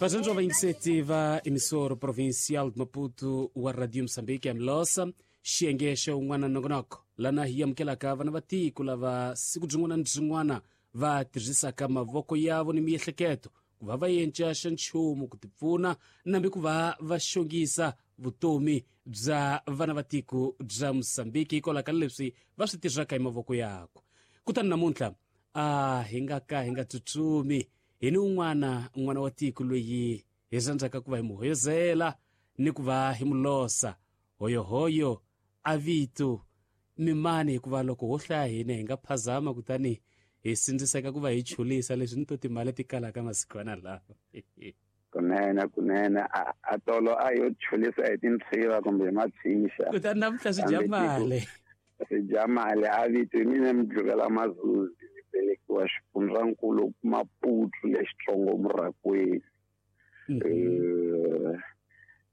Vatsontswa vayingiseti va emissora provincial de Maputo wa Radio Moçambique ya Mlosa, xiyenge xa un'wana nongonoko lana hi amukelaka vana va tiko lava siku byin'wana ni byin'wana va tirhisaka mavoko yavo ni miehleketo ku va va yenca xa nchumu ku tipfuna nambi ku va va xongisa vutomi bya vana va tiko bya Mozambique hikwalaho ka leswi va swi tirhaka hi mavoko yakwe. Kutani namuntlha a hi nga ka hi nga tsutsumi hi ni un'wana n'wana wa tiko loyi hi rhandzaka ku va hi mu hoyozela ni ku va hi mu losa hoyohoyo a vito mimani, hikuva loko ho hlaya hina hi nga phazama kutani hi sindziseka ku va hi chulisa leswi ni to timali ti kalaka masikwana lawa. Kunene kunene a tolo a yo chulisa hi tintshiva kumbe hi matshixa, kutani namuntlha swi dya mali, swi dya mali. A vito hi mina Mudluvela Mazuzi, ni velekiwa xifundzankulu Maputo lexitsongo Murakwini.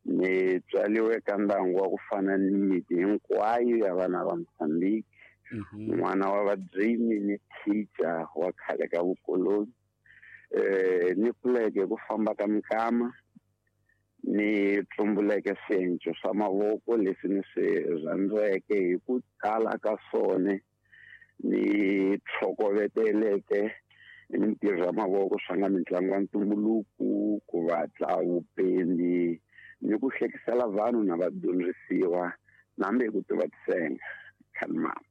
Ni tswaliwe ka ndyangu wa ku fana ni miti hinkwayo ya vana va Mozambique, n'wana wa vadyimi ni teacher wa khale ka vukoloni. Ni kuleke ku famba ka mikama, ni tsumbuleke swienco swa mavoko leswi ni swi rhandzeke hi ku tala ka swona, ni tlhokoveteleke hi mintirho ya mavoko swa nga mitlangu ya ntumbuluko, ku vatla, vupendi ni ku hlekisela vanhu na vadyondzisiwa nambe hi ku tiva tisenga khalimama.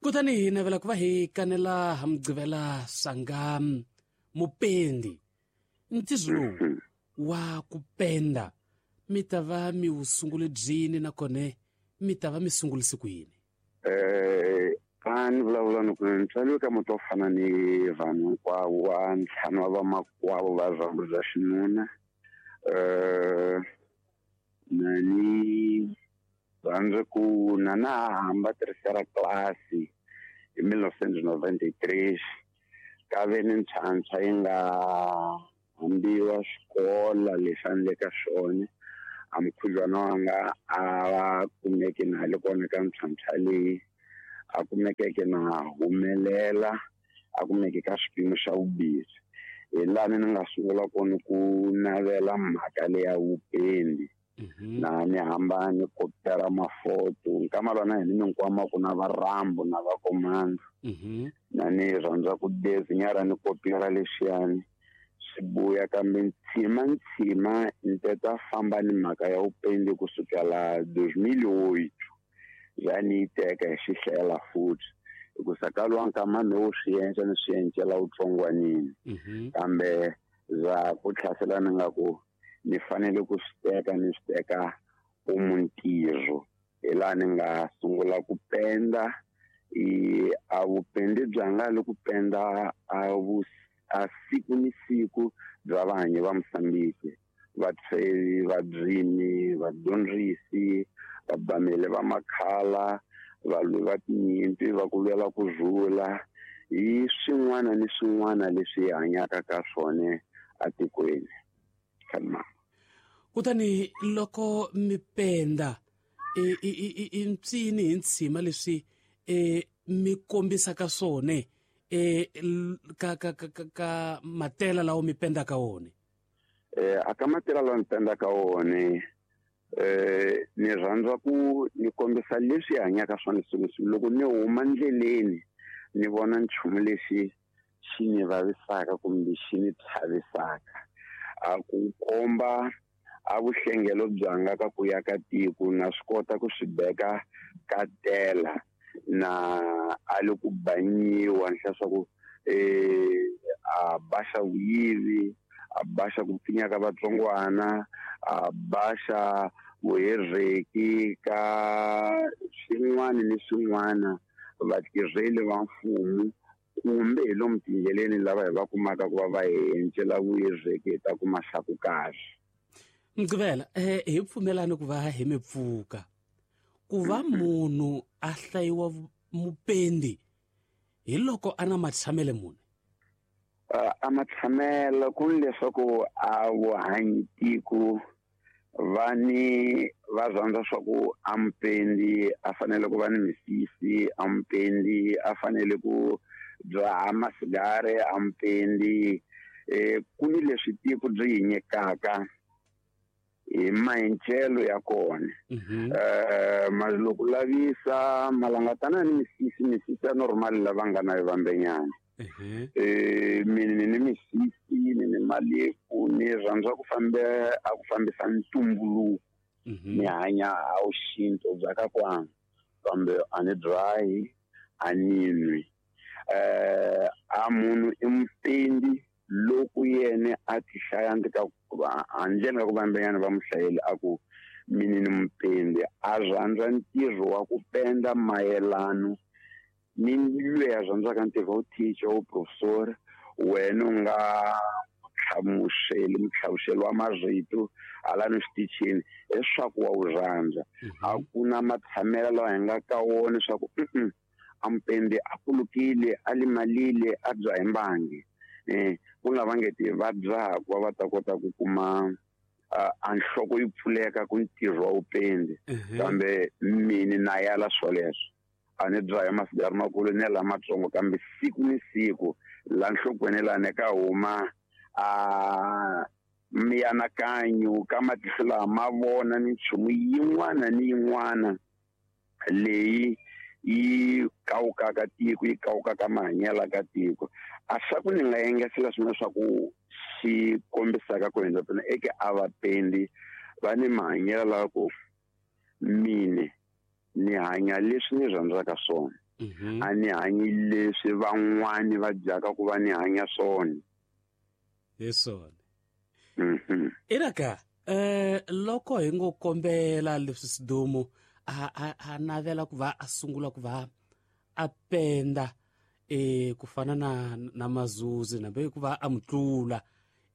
Kutani hi navela ku va hi kanela ha Mugqivela swanga mupendi. Ntirho lowu wa ku penda mi ta va mi wu sungule byini, nakona mi ta va mi sungulise ku yini? A ni vulavula ni ku ni tswariwe ka muti wo fana ni vanhu hinkwavo wa ntlhanu wa vamakwavo va rhambu bya xinuna. Na ni rhandza ku na na ha hamba terceira classe hi 1993, ka ve ni ntlhantlha yi nga hambiwa xikola lexi a ni le ka xona. A mukhuhlwana wanga a va kumeke na le kona ka ntlhantlha leyi, a kumekeke na humelela, a kumeke ka xipimo xa vumbirhi. Hi lani ni nga sungula kona ku navela mhaka leya vupendi. Na ni hamba ni kopela mafoto nkama lwana hi ni minkwama ku na varambo na vakomando. Na ni rhandza ku dezinyara ni kopela lexiyani swi buya, kambe ntshima ntshima ni teta famba ni mhaka ya vupendi kusukela 2008 ya ni yi teka hi xihlela futhi, hikusa ka luwa nkama no wu swi endla ni swi encela wutsongwanini, kambe za ku tlhasela ni nga ku ni fanele ku swi teka ni swi teka ku ntirho. Hi laha ni nga sungula ku penda. I a vupendi bya nga le ku penda a vu a siku ni siku bya vahanyi va Mozambique, vatshevi, vabyimi, vadyondzisi, vabameli va makhala, valwi va tinyimpi va ku lwela ku rhula, hi swin'wana ni swin'wana leswi hi hanyaka ka swona atikweni. Kutani loko mi penda i mpsini hi ntshima leswi mi kombisaka swona ka ka ka ka matela lawa mi pendaka wona? A ka matela lawa mi pendaka wona, ni rhandza ku ni kombisa leswi hanyaka swona siku siku. Loko ni huma ndleleni ni vona nchumu lexi xi ni vavisaka kumbe xi ni chavisaka, a ku komba a vuhlengelo byanga ka ku ya ka tiko, na swi kota ku swi beka ka tela na a le ku banyiwa ni hlaya swa ku a baxa vuyivi, a baxa ku pfinya ka vatsongwana, a baxa vuherheki ka swin'wana ni swin'wana, vatirheli va mfumo kumbe hi lomu tindleleni lava hi va kumaka ku va va encela vuherheki hi ta kuma xa ku kahle. Mugqivela, hi pfumelani ku va hi mi pfuka ku va munhu a hlayiwa mupendi hi loko a na matshamele muni? A matshamelo ku ni leswaku a vuhanyi tiko va ni va rhandza swa ku a mupendi a fanele ku va ni misisi, a mupendi a fanele ku dzaha masigari, a mupendi. Ku ni leswi tiko byi yi nyikaka hi maendlelo ya kona. Loko lavisa malangatana ni misisi, misisi ya normal lava nga na yo vambenyana. Mina ni misisi ni malefu ni rhandza ku fambe a ku fambisa ntumbuluko. Ni hanya a wuxintu bya ka kwanga kambe a ni dzahi a ni nwi. A munhu i mupendi loko yena a ti hlaya ndzi ka handleni ka ku vambenyana va muhlayeli a ku mina ni mupendi a rhandza ntirho wa ku penda mayelano ni loyi a rhandzaka ntirho wa teacher wa professor wena u nga mutlhavuxeli wa marito hala ni xitichini leswaku wa wu rhandza. A ku na matshamelo lawa hi nga ka wona leswaku a mupendi a kulukile a limalile a dzaha mbangi. Ku nga va nge ti va dzaha ku va va ta kota ku kuma a nhloko yi pfuleka ku ntirho wa vupendi. Kambe mina na yala swoleswo a ni dzaha masigari makulu ni lamatsongo kambe siku ni siku la nhlokweni lani ka huma a mianakanyo ka matihlo lawa ma vona minchumu yin'wana ni yin'wana leyi yi kawukaka tiko yi kawukaka mahanyelo ka tiko. A swa ku ni nga engetela swin'wana swa ku xi kombisaka ku hundza pfuna eke a vapendi va ni mahanyelo lawa ku mine ni hanya leswi ni rhandzaka swona. A ni hanyi leswi van'wani va dyaka ku va ni hanya swona. Hi swona. Iraka loko hi ngo kombela leswi Sidumo a navela ku va a sungula ku va a penda ku fana na Mazuzi nambe ku va a mutlula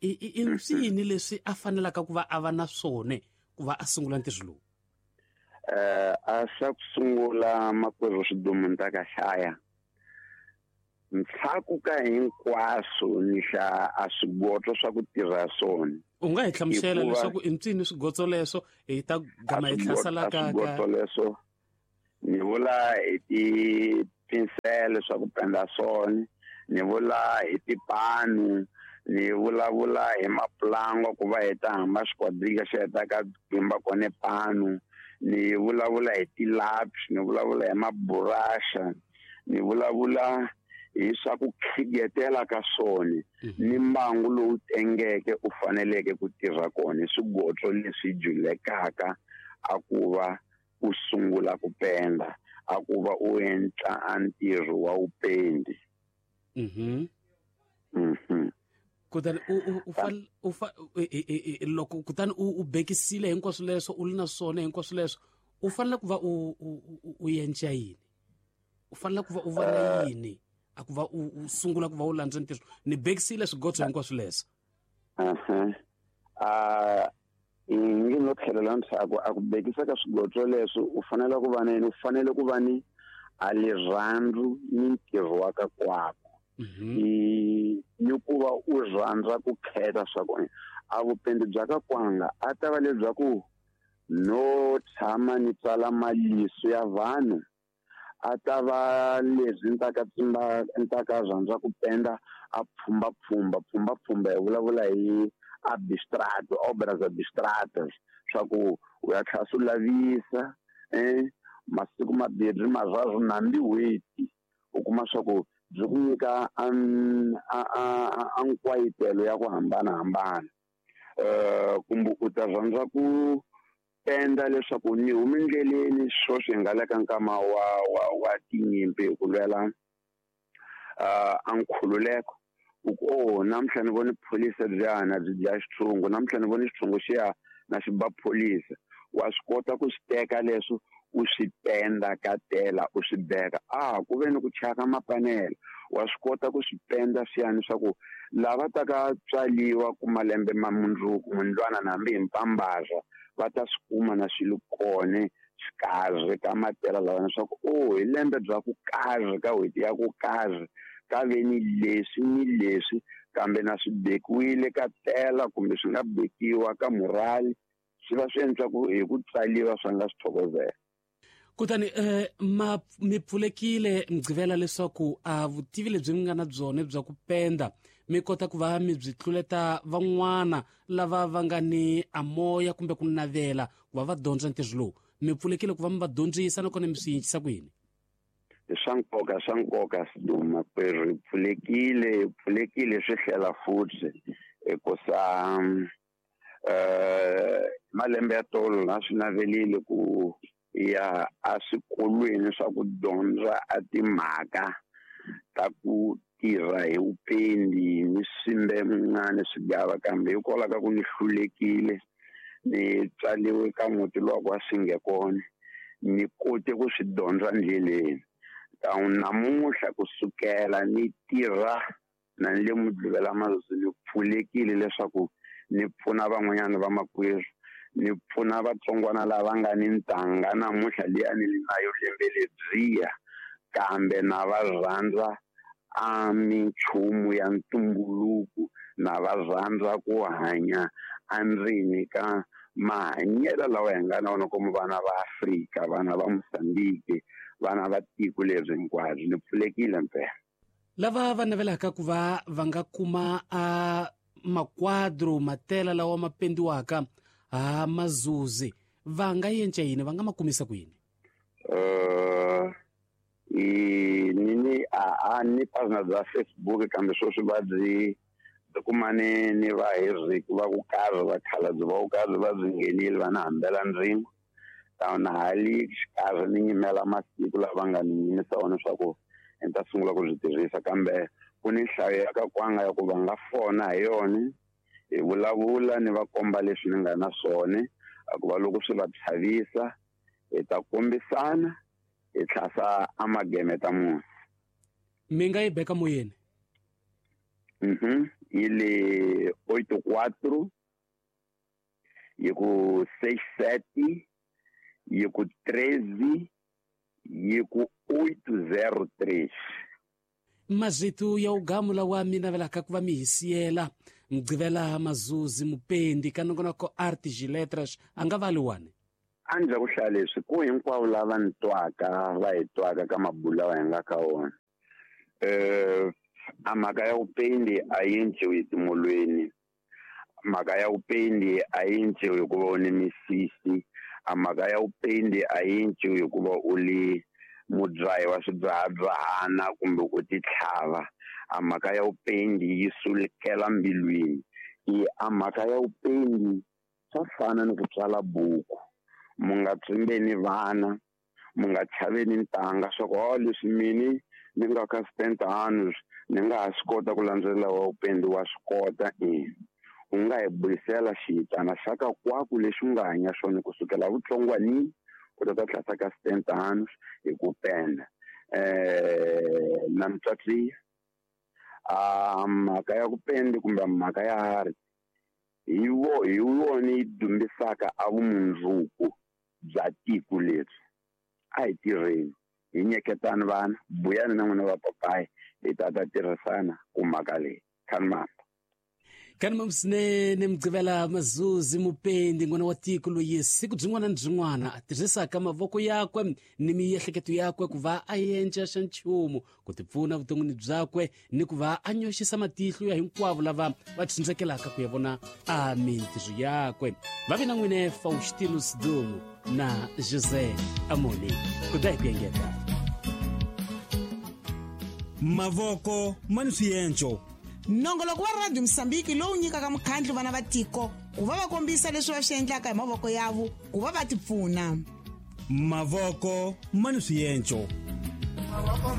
i mpsini leswi a fanelaka ku va a va na swona ku va a sungula ntirho lowu? A xa ku sungula makwerhu Sidumo ni ta ka hlaya ntshaku ka hinkwaswo ni hla a swigotso swa ku tirha swona. U nga hi hlamusela leswaku i mpsini swigotso leswo hi ta gama hi hlasela ka swigotso leswo? Ni vula hi tipinsele swa ku penda swona, ni vula hi tipanu, ni vulavula hi mapulango ku va hi ta hamba xikwadrika xi heta ka pimba kone panu, ni vulavula hi tilapi, ni vulavula hi maburasha, ni vulavula hi swa ku khigetela ka swona ni mbangu lowu tengeke u faneleke ku tirha kona, swigotso leswi julekaka a ku va u sungula ku penda, a ku va u endla a ntirho wa vupendi. Kutani u loko kutani u bekisile hinkwaswo leswo u li na swona hinkwaswo leswo u fanele ku va u endla yini? U fanele ku va u va na yini? A ku va u sungula ku va u landza ntirho? Ni bekisile swigotso hinkwaswo leswo. Ngi no tlhelela ndzhaku a ku bekisa ka swigotso leswo u fanele ku va na yini? U fanele ku va ni a rirhandzu ni ntirho wa ka kwako. Ni ku va u rhandza ku khetha swa kona. A vupendi bya ka kwanga a ta va lebyaku no tshama ni tsala maliso ya vanhu, a ta va leswi ni ta ka tsimba ni ta ka rhandza ku penda a pfhumba pfhumba pfhumba pfhumba hi vulavula hi abstrato obras abstratas swa ku u ya tlhela swi lavisa masiku mambirhi marharhu nambi n'hweti u kuma swa ku byi ku nyika a nkwayitelo ya ku hambanahambana. Kumbe u ta rhandza ku penda leswaku ni hume ndleleni sweswi hi nga le ka nkama wa tinyimpi hi ku lwela a nkhululeko. U ku oh namuntlha ni vone pholisa byana byi dlaya xitshungu, namuntlha ni vone xitshungu xiya na xi ba pholisa. Wa swi kota ku swi teka leswo u swi penda ka tela u swi beka. Ku ve ni ku chaka mapanela wa swi kota ku swi penda swiyani swa ku lava ta ka tswaliwa ku malembe ma mundzuku mundlwana na hambi hi mpambaza va ta swi kuma na swilo kone xikarhi ka matela lawa leswaku oh hi lembe bya ku karhi ka n'hweti ya ku karhi ka ve ni leswi ni leswi kambe na swi bekiwile ka tela kumbe swi nga bekiwa ka murali swi va swi endla ku hi ku tsaliwa swa nga swi thokozela. Kutani mi pfulekile Mugqivela leswaku a vutivi lebyi mi nga na byona bya ku penda mi kota ku va mi byi tluleta van'wana lava va nga ni amoya kumbe ku navela ku va va dyondza ntirho lowu, mi pfulekile ku va mi va dyondzisa nakona mi swi yinjisa ku yini? Swa nkoka Siduma, kwerhu hi pfulekile swi hlela futhi hikusa malembe ya tolo na swi navelile ku ya eswikolweni swa ku dyondza a timhaka ta ku tirha hi vupendi, ni swimbe ni swigava, kambe hikwalaho ka ku ni hlulekile, ni tswaliwe ka muti luwa ku a swi nge kona ni kote ku swi dyondza ndleleni. Namuntlha kusukela ni tirha na ni le Mudluvela Mazuzu, ni pfulekile leswaku ni pfuna van'wanyana vamakwerhu, ni pfuna vatsongwana lava nga ni ntanga namuntlha liya ni li na yo lembe lebyiya, kambe na va rhandza a minchumu ya ntumbuluko, na va rhandza ku hanya endzeni ka mahanyelo lawa hi nga na wona como vana va Afrika, vana va Mozambique, vana va tiko leri hinkwabyo. Ni pfulekile mpela. Lava va navelaka ku va va nga kuma a makwadro matela lawa ma pendiwaka ha Mazuzi, va nga yenca yini? Va nga ma kumisa ku yini? Ni a ni página bya Facebook, kambe sweswi va byi kumane ni va hi va ku karhi va khalabye va ku karhi va byi nghenile, va na hambela ndzingo na hali xikarhi, ni nyimela masiku lava nga ni nyimisa wona leswaku ni ta sungula ku byi tirhisa, kambe ku ni nhlayo ya ka kwanga ya ku va nga fona hi yona, hi vulavula, ni va komba leswi ni nga na swona, a ku va loko swi va chavisa, hi ta kombisana, hi tlhasa amageme ta musi. Mi nga yi beka moyeni? Yi le 84 yi ku 67 yi ku 13 yi ku 803. Mazito ya ugamu lawa mi navelaka ku va mi hi siyela, Mugqivela Mazuzi mupendi ka nongonoko Artes e Letras, a nga vali wani? A ndzi ku hlaya leswi ku hinkwavo lava ni twaka, va hi twaka ka mabulu lawa hi nga ka wona, a mhaka ya vupendi a yi enciwi timolweni, mhaka ya vupendi a yi enciwi hikuva u ni misisi, a mhaka ya vupendi a yi enciwi hikuva u li mudzahi wa swidzahadzahana kumbe u titlhava. A mhaka ya vupendi yi sukela mbilwini. I a mhaka ya vupendi swa fana ni ku tsala buku. Mu nga tsimbeni vana, mu nga chaveni ntanga swa ku o leswi mini ni nga ka 70 anos ni nga ha swi kota ku landzelela wa vupendi. Wa swi kota, i u nga hi buyisela xiyitana xa ka kwaku lexi u nga hanya xona kusukela vutsongwanini u ta ta tlhasa ka 70 anos hi ku penda na mitswatliya. A mhaka ya ku pendi kumbe mhaka ya art hi vo hi yona yi dumbisaka a vumundzuku bya tiko leri. A hi tirheni, hi nyeketani vana, buyani na n'wina vapapayi, hi ta ta tirhisana ku mhaka leyi khanimamba. Kani swinene, Mugqivela Mazuzi mupendi, n'wana wa tiko loyi siku byin'wana ni byin'wana a tirhisaka mavoko yakwe ni miehleketo yakwe ku va a endla xa nchumu ku tipfuna vuton'wini byakwe ni ku va a nyoxisa matihlo ya hinkwavo lava va tsundzekelaka ku ya vona a mintirho yakwe. Va vi na n'wine Faustino Sidumo na José Amoni ku da hi ku engeta. Mavoko ma ni swienco. Nongoloko wa Radio Mosambiki lowu nyikaka mukhandlu vana va tiko ku va va kombisa leswi va swi endlaka hi mavoko yavo ku va va tipfuna. Mavoko ma ni swienco. Mavoko.